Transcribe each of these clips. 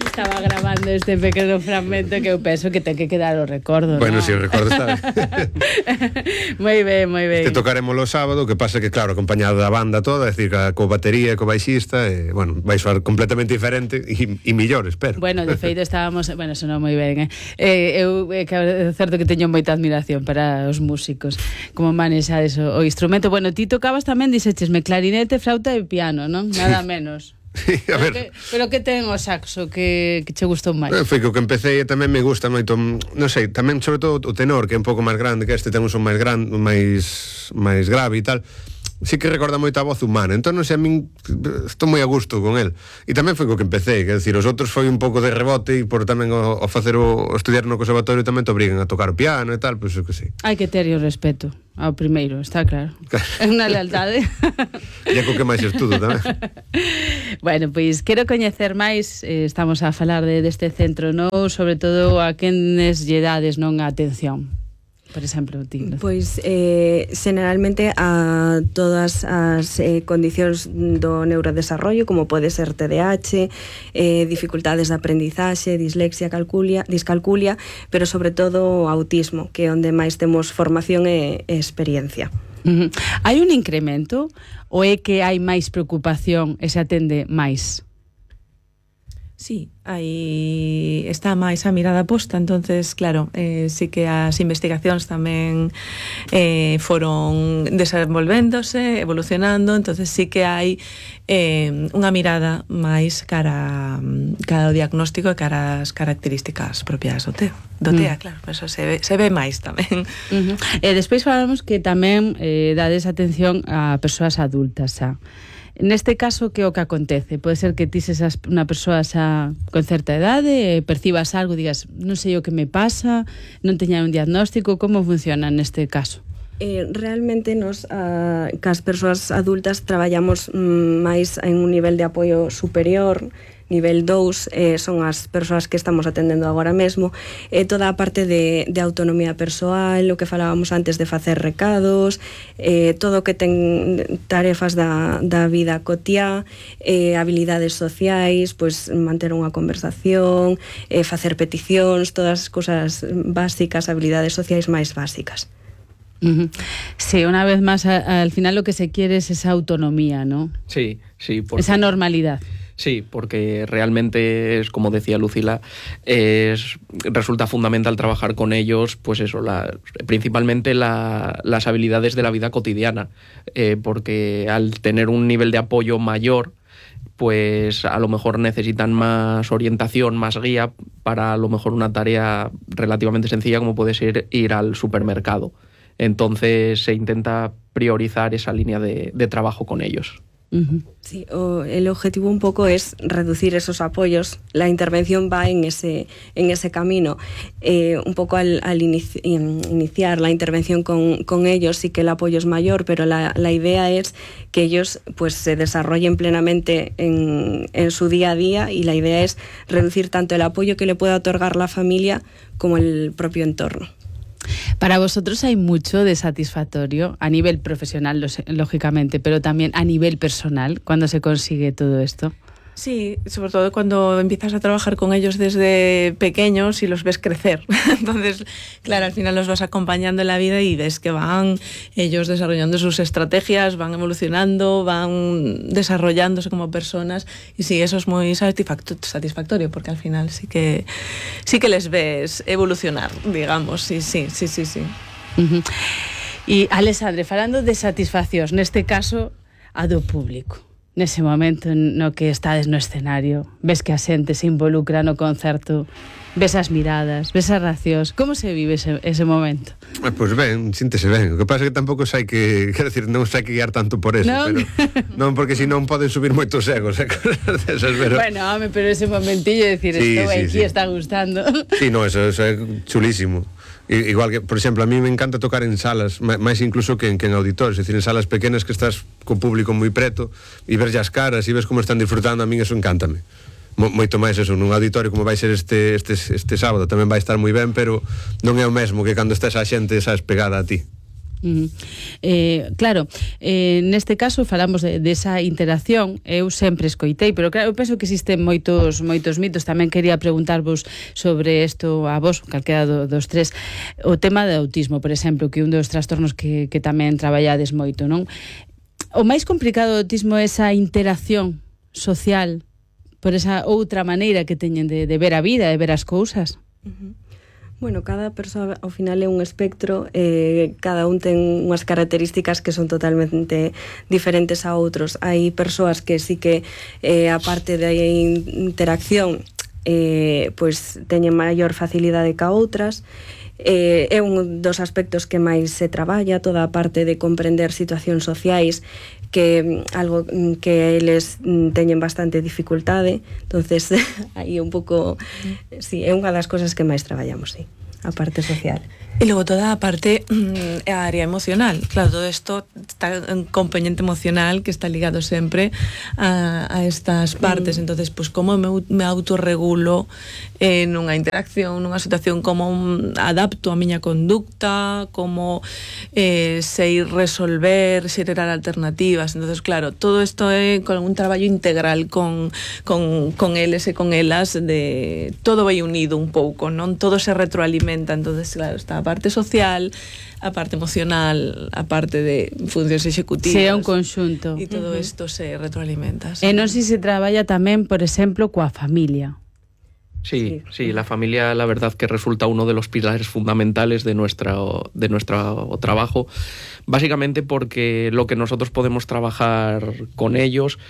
Estaba grabando este pequeno fragmento que eu penso que ten que quedar o recordo. Bueno, ¿no? si o recordo está Moi ben, moi ben. Este tocaremos o sábado, que pasa que, claro, acompañado da banda toda, é dicir, co batería, co baixista, bueno, vai soar completamente diferente e millor, espero. Bueno, de feito estábamos, bueno, sonou moi ben, eu é certo que teño moita admiración para os músicos, como manexades o instrumento. Bueno, ti tocabas tamén, dixechesme, clarinete, flauta e piano, non? Nada menos. Sí, a ver. Pero que ten o saxo que che gustou máis? Foi que o que empecé e tamén me gusta moito, non sei, tamén sobre todo o tenor, que é un pouco máis grande, que este ten un son máis grande, máis grave e tal. Sí que recorda moito a voz humana, entón non sei, a min estou moi a gusto con el. E tamén foi co que empecé, quer decir, os outros foi un pouco de rebote, e por tamén o facer o estudiar no conservatorio tamén te obrigan a tocar o piano e tal, pois que sí. Hai que ter o respeto ao primeiro, está claro. É unha lealtade. E é co que máis estudo tamén. Bueno, pois quero coñecer máis, estamos a falar deste centro, non? Sobre todo a quenes lle dades non a atención. Por exemplo, ti. Pois, generalmente a todas as condicións do neurodesarrollo, como pode ser TDAH, dificultades de aprendizaxe, dislexia, discalculia, pero sobre todo autismo, que é onde máis temos formación e experiencia. Hai un incremento ou é que hai máis preocupación e se atende máis? Sí, aí está máis a mirada posta, entonces, claro, sí que as investigacións tamén foron desenvolvéndose, evolucionando, entonces sí que hai unha mirada máis cara ao diagnóstico e cara ás características propias do TEA, claro, eso se ve máis tamén. E despois falamos que tamén dades atención a persoas adultas, xa. Neste caso, que é o que acontece? Pode ser que ti sesas unha persoa xa con certa idade, percibas algo, digas, non sei o que me pasa, non teña un diagnóstico, como funciona neste caso? Realmente nos cas persoas adultas traballamos máis en un nivel de apoio superior. Nivel 2 son as persoas que estamos atendendo agora mesmo, toda a parte de autonomía persoal, o que falábamos antes de facer recados, todo o que ten tarefas da vida cotiá, habilidades sociais, pois manter unha conversación, facer peticións, todas as cousas básicas, habilidades sociais máis básicas. Sí, una vez más, al final lo que se quiere es esa autonomía, ¿no? Sí, esa normalidad. Sí, porque realmente es, como decía Lucila, resulta fundamental trabajar con ellos, pues eso, principalmente las habilidades de la vida cotidiana, porque al tener un nivel de apoyo mayor, pues a lo mejor necesitan más orientación, más guía para a lo mejor una tarea relativamente sencilla como puede ser ir al supermercado. Entonces se intenta priorizar esa línea de trabajo con ellos. Sí, el objetivo un poco es reducir esos apoyos. La intervención va en ese camino. Un poco al iniciar la intervención con ellos, sí que el apoyo es mayor, pero la idea es que ellos pues se desarrollen plenamente en su día a día, y la idea es reducir tanto el apoyo que le pueda otorgar la familia como el propio entorno. Para vosotros hay mucho de satisfactorio a nivel profesional, lógicamente, pero también a nivel personal, cuando se consigue todo esto. Sí, sobre todo cuando empiezas a trabajar con ellos desde pequeños y los ves crecer. Entonces, claro, al final los vas acompañando en la vida y ves que van ellos desarrollando sus estrategias, van evolucionando, van desarrollándose como personas, y sí, eso es muy satisfactorio, porque al final sí que les ves evolucionar, digamos, sí. Y Alexandre, falando de satisfaccións, neste caso a do público, nese momento no que estades no escenario, ves que a xente se involucra no concerto, ves as miradas, ves as reaccións, como se vive ese momento? Pois ben, síntese ben. O que pasa é que tampouco sai que, quero decir, non sai que guiar tanto por eso, non? Pero non, porque senón poden subir moitos egos, cosas desas, pero bueno, home, pero ese momentillo de decir, sí, estou aquí, sí. está gustando. Sí, no, eso é chulísimo. Igual que, por exemplo, a mí me encanta tocar en salas, máis incluso que en auditorios, é dicir, en salas pequenas que estás co público moi preto e ves as caras e ves como están disfrutando, a min eso encántame. Moito máis eso, nun auditorio como vai ser este sábado tamén vai estar moi ben, pero non é o mesmo que cando estés a xente, sabes, pegada a ti. Claro, neste caso falamos desa interacción. Eu sempre escoitei, pero claro, eu penso que existen moitos mitos. Tamén quería preguntarvos sobre isto a vos, calquera dos tres. O tema do autismo, por exemplo, que un dos trastornos que tamén traballades moito, non? O máis complicado do autismo é esa interacción social por esa outra maneira que teñen de ver a vida, de ver as cousas. Bueno, cada persoa ao final é un espectro, cada un ten unhas características que son totalmente diferentes a outros. Hai persoas que sí que, a parte da interacción, pois teñen maior facilidade que a outras. É un dos aspectos que máis se traballa, toda a parte de comprender situacións sociais, que algo que eles teñen bastante dificultade. Entonces, aí un pouco, sí, é unha das cosas que máis traballamos, sí, a parte social. E logo toda a parte a área emocional. Claro, todo isto está un componente emocional que está ligado sempre a estas partes. Entonces, pues como me autorregulo nunha interacción, nunha situación, como adapto a miña conducta, como sei resolver, xerar alternativas. Entonces, claro, todo isto é con un traballo integral con eles e con elas, de todo vai unido un pouco, non? Todo se retroalimenta. Entonces, claro, está a parte social, a parte emocional, a parte de funcións executivas. Sí, é un conxunto. E todo isto se retroalimenta. E non sei se traballa tamén, por exemplo, coa familia. Sí, la familia, la verdad que resulta uno de los pilares fundamentales de nuestro trabajo, básicamente porque lo que nosotros podemos trabajar con ellos,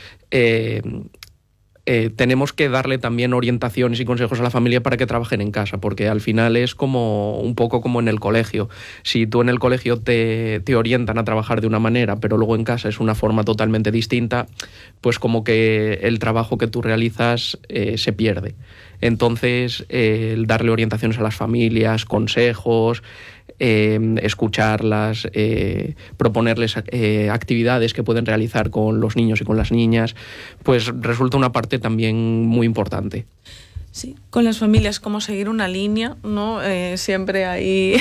tenemos que darle también orientaciones y consejos a la familia para que trabajen en casa, porque al final es como un poco como en el colegio. Si tú en el colegio te orientan a trabajar de una manera, pero luego en casa es una forma totalmente distinta, pues como que el trabajo que tú realizas se pierde. Entonces, el darle orientaciones a las familias, consejos, escucharlas, proponerles actividades que pueden realizar con los niños y con las niñas, pues resulta una parte también muy importante. Sí, con las familias, como seguir una línea, ¿no? Siempre ahí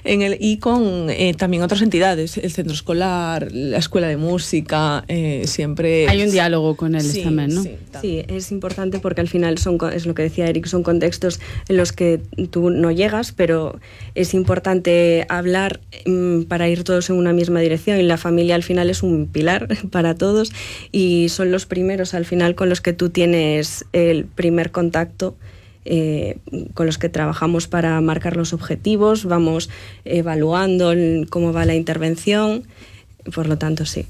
y con también otras entidades, el centro escolar, la escuela de música, siempre... Hay un diálogo con ellos también, ¿no? Sí, es importante porque al final es lo que decía Eric, son contextos en los que tú no llegas, pero es importante hablar para ir todos en una misma dirección, y la familia al final es un pilar para todos y son los primeros al final con los que tú tienes el primer contacto, con los que trabajamos para marcar los objetivos, vamos evaluando cómo va la intervención. Por lo tanto, sí,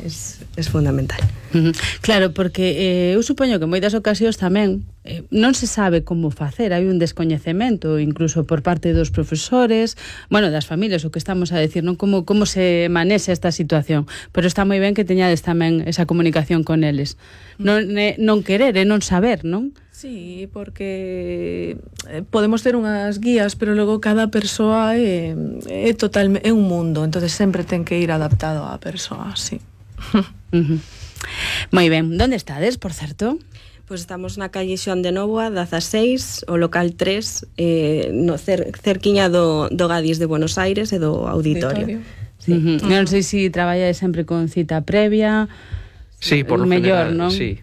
es fundamental. Claro, porque eu supoño que en moitas ocasións tamén non se sabe como facer, hai un descoñecemento incluso por parte dos profesores, bueno, das familias, o que estamos a decir, non, como se manexa esta situación, pero está moi ben que teñades tamén esa comunicación con eles. Non querer e non saber, non? Sí, porque podemos ter unhas guías, pero logo cada persoa é un mundo, entonces sempre ten que ir adaptado á persoa, sí. Moi ben, onde estades, por certo? Pois estamos na calle Xoán de Nóvoa, 16, o local 3, no cerquiña do Gadis de Buenos Aires e do auditorio. Sí. Non sei se traballades sempre con cita previa. Sí, por lo mellor, general, ¿no? sí.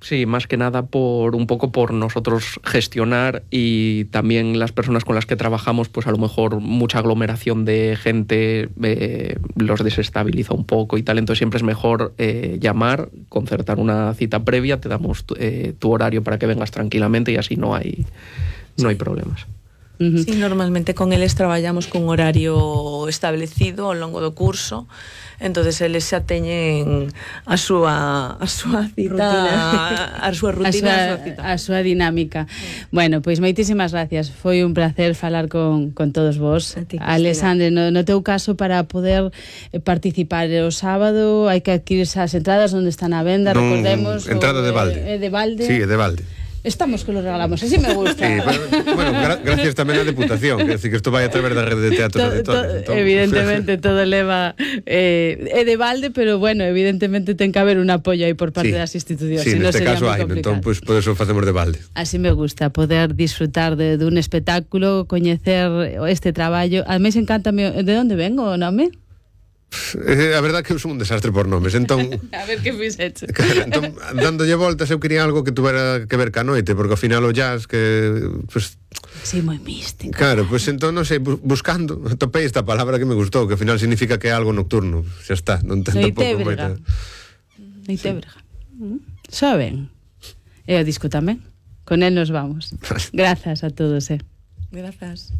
Sí, más que nada un poco por nosotros gestionar, y también las personas con las que trabajamos, pues a lo mejor mucha aglomeración de gente los desestabiliza un poco y tal, entonces siempre es mejor llamar, concertar una cita previa, te damos tu horario para que vengas tranquilamente y así no hay problemas. Sí, normalmente con eles traballamos con horario establecido ao longo do curso, entonces eles xa teñen a súa cita, a súa rutina, a súa dinámica. Bueno, pois moitísimas gracias. Foi un placer falar con todos vos. Alexandre, no teu caso, para poder participar o sábado hai que adquirirse as entradas onde están a venda, recordemos. Entrada de balde. De balde. Sí, de balde. Estamos que lo regalamos, así me gusta. Sí, pero, bueno, gracias tamén á Deputación, que decir que isto vai a través da rede de teatros auditorios. Evidentemente todo leva é de balde, pero bueno, evidentemente ten que haber un apoio aí por parte das institucións. Sí, neste caso hai, complicado. entón, pues, por eso facemos de balde. Así me gusta, poder disfrutar dun espectáculo, coñecer este traballo. A mí encántame, de onde vengo o nome? A verdade que eu son un desastre por nomes, entón... A ver que fixeche. Claro, entón, dándolle voltas, eu quería algo que tuvera que ver ca noite, porque ao final o jazz que... Pues, sí, moi místico. claro, pues entón, non sei, buscando, topei esta palabra que me gustou, que ao final significa que é algo nocturno. Xa está, non ten tampouco moita... Noitebrega. Xa ben. E o disco tamén. Con el nos vamos. Grazas a todos, Grazas.